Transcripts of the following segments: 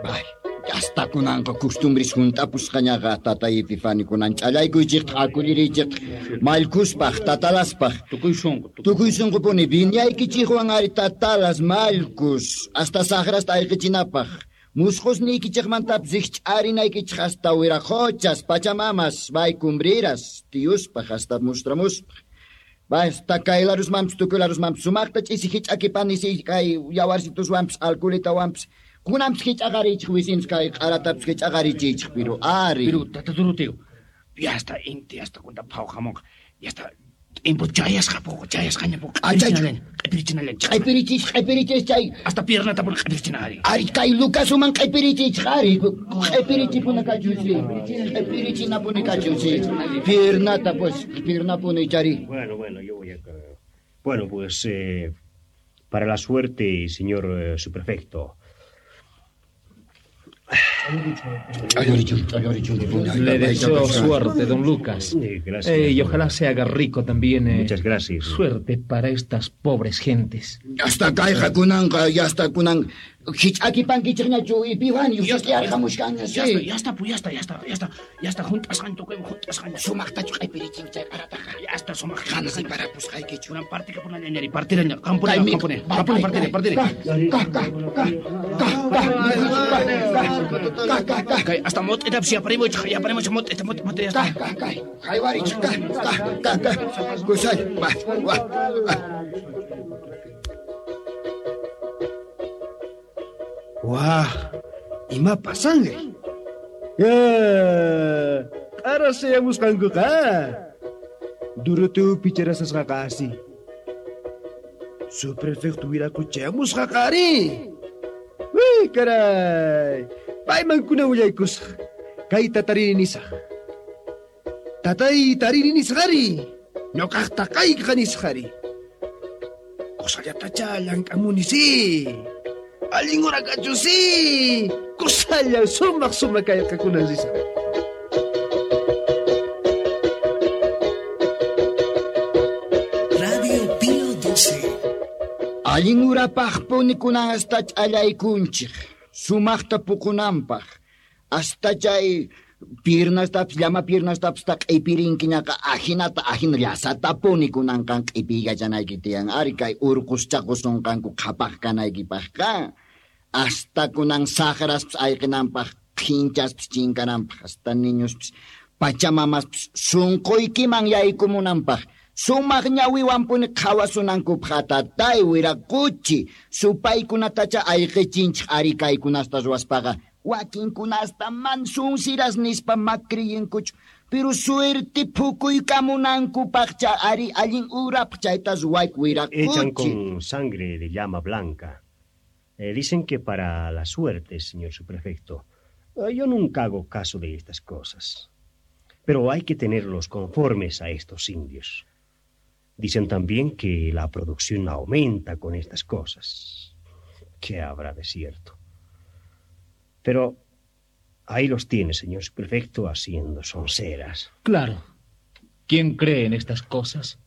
Bay, hasta kunanqa costumbres junt'apusqañaqa tatay Epifani kunan ch'allaykuychikta akulliriychikta mallkuspaj tatalaspaj. Tukuy sunqu. Tukuy sunqupuni viñaykichikwan ari tatalas mallkus hasta saqrasta ayqichinapaj. Musqusniykichikmantapis rikch'arinaykichik hasta wiraqochas, pachamamas, bay cumbriras, tiyuspaj hasta mustramuspaj. Basta kay larusmanpis tukuy larusmanpis sumaqta ch'isi hich'akipani si kay yawarsituswanpis alkulitawanpis kunanpis hich'aqarichik wisinchik kay q'aratapis hich'aqarichiychik pero ari. Pero tata Doroteo, ya hasta inti hasta kunta phawqamunqa, ya hasta tiempo chayasqa poco, chayasqaña poco. Q'ipirichinallan. Q'ipirichis, q'ipirichis chay. Hasta piernata puni q'ipirichina ari. Ari kay Lucasuman q'ipirichich ari. Q'ipirichipuni kachun si. Q'ipirichinapuni kachun si. Piernata pues, piernapuni chari. Bueno, bueno, yo voy a... Bueno, pues para la suerte, señor subprefecto. Le deseo suerte, don Lucas. Gracias. Y ojalá se haga rico también. Muchas gracias. Suerte para estas pobres gentes. Hasta kayqa kunanqa, ya hasta kunan. Hich'akipankichikñachu Epifani, Ya está, yarqamushkanña, Ya sí. está, ya está, pues ya está, ya está, ya está, ya está, juntasqan tukuyman, juntasqan. Sumaqtachu q'ipirichin chay q'arataqa. Ya está, sumaq. Qansi parapusqaykichu. Kunan partika punallan, ari, partiraña, qanpuni, qanpuni, qanpuni, partiri, partiri. Ka, ka, ka, ka, ka, ka, ka, ka, Kay, hasta mot'itapis yaparimuchik, yaparimuchik, mot'ita, mot'ita, mot'ita, ya está. ka, ka, ka, haywarichik, ka, ka, ka, ka, kusay, va, va, va. Wah, ima pasanri? Ya, q'ara sayamusqankuqa. Doroteo picharasasqaqa asi. Subprefecto wiraquchayamusqaqa ari. Uy, caray. Payman kuna willaykusaq. Kayta tarini nisaq. Tatay tarini nisqari. Ñuqaqta kayqa nisqari. Kusallatacha llank'amuni si. Allin hora kachu si. Kusalla sumaq sumaq kayqa kunan risaq. Radio Pío 12. Allin urapaqpuni kunan hasta ch'allaykunchik, sumaqta puqunanpaq. Hasta chay piernastapis, llama piernastapis ta q'ipirinkiñaqa ajinata, ajina llasatapuni kunanqan q'ipiykachanayki tiyan. Ari kay urquschaqusunqanku qhapaq kanaykipaqqa. Hasta kunan saqraspis ayqinanpaq, qhinchaspis chinkananpaq, hasta niñospis, pachamamaspis sunquykiman yaykumunanpaq. Sumaq ñawiwanpuni qhawasunankupaq tatay wiraquchi, supaykunatacha ayqichinchik ari kaykunasta ruwaspaqa. Wakinkunasta man sunsiras nispa makriyinkuchu, pero suerte pukuykamunankupaqcha ari allin urapaq chayta ruwayku wiraquchi. Echan con sangre de llama blanca. Dicen que para la suerte, señor subprefecto. Yo nunca hago caso de estas cosas. Pero hay que tenerlos conformes a estos indios. Dicen también que la producción aumenta con estas cosas. ¿Qué habrá de cierto? Pero ahí los tiene, señor subprefecto, haciendo sonceras. Claro. ¿Quién cree en estas cosas?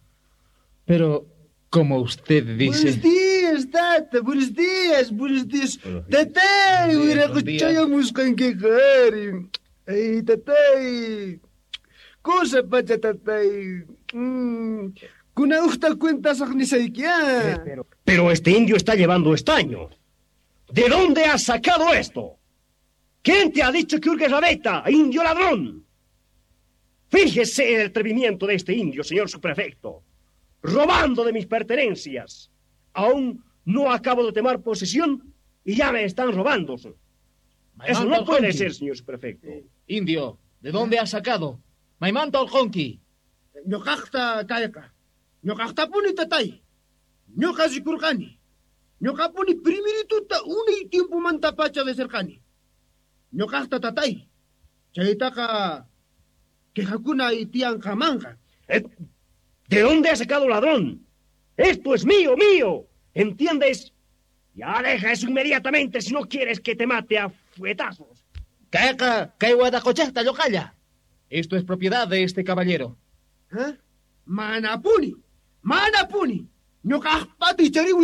Pero, como usted dice... Buenos días, tata. Buenos días, buenos días. Buenos días. Tatay, Buenos días, buen día. wiraquchayamusqankiqa, ari. Ay, tatay. Cosa pacha, tatay. Kuna uqta cuentasaq nisayki, ah. Pero este indio está llevando estaño. ¿De dónde has sacado esto? ¿Quién te ha dicho que hurgues la veta, indio ladrón? Fíjese el atrevimiento de este indio, señor subprefecto, robando de mis pertenencias. Aún no acabo de tomar posesión y ya me están robando. Eso no puede ser, señor subprefecto. Indio, ¿de dónde has sacado? Maimanta Oljonqui. Ñuqaqta kayqa. Ñuqaqtapuni tatay. Ñuqa rikurqani. Ñuqapuni primerituta unay tiempomantapacha deserqani. Ñuqaqta tatay. Chaytaqa quejakuna tiyanqamanqa. ¿De dónde has sacado ladrón? Esto es mío, mío. ¿Entiendes? Ya deja eso inmediatamente si no quieres que te mate a fuetazos. Kayqa, kay wadaquchaqta lluqalla. Esto es propiedad de este caballero. ¿Eh? Manapuni, manapuni. Ñuqaqpata ichariwi